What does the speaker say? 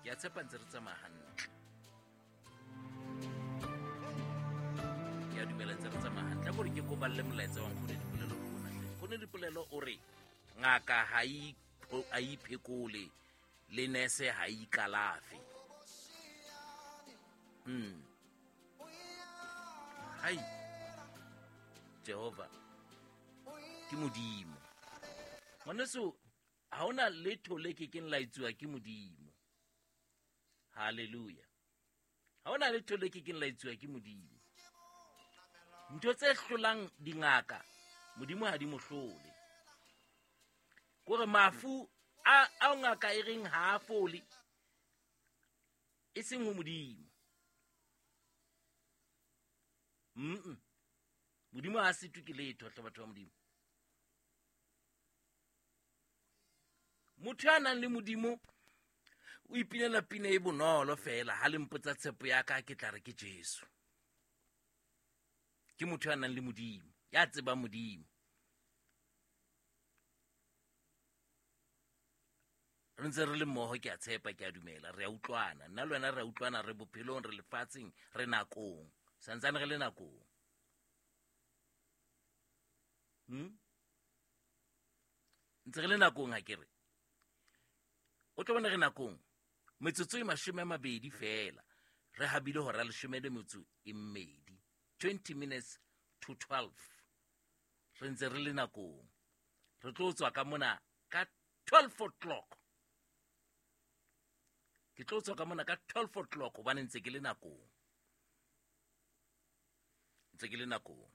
Ke a tshepa ntse re tsamaya hantle. Ke a dumela ntse re tsamaya hantle. A kore ke koballe molaetsa wa Nkgone Dipolelo ke ona hle. Nkgone Dipolelo o re ngaka ha e ha e iphekole le nese ha e ikalafe. Hai. Jehova ke Modimo. Ngwaneso, ha hona letho le ke keng la etsuwa ke Modimo. Hallelujah. Ha hona letho le ke keng la etsuwa ke Modimo. Ntho tse hlolang dingaka, Modimo ha di mo hlole. Kore mafu a ao ngaka e reng ha a fole, e seng ho Modimo. Modimo ha a sitwe ke letho, hle batho ba Modimo. Motho ya nang le Modimo o ipinela pina e bonolo fela, ha le mpotsa tshepo ya ka ke tla re ke Jesu. Ke motho ya nang le Modimo, ya tsebang Modimo. Re ntse re le mmoho, ke a tshepa, ke a dumela, re a utlwana. Nna le wena re a utlwana, re bophelong, re lefatsheng, re nakong. Santsane re le nakong. Ntse re le nakong ha ke re. O tlo bona re nakong. Metsotso e mashome a mabedi fela. Re habile hora leshome le metso e mmedi. 20 minutes to 12. Re ntse re le nakong. Re tlo tswa ka mona ka 12 o'clock. Ke tlo tswa ka mona ka 12 o'clock hobane ntse ke le nakong. Ntse ke le nakong.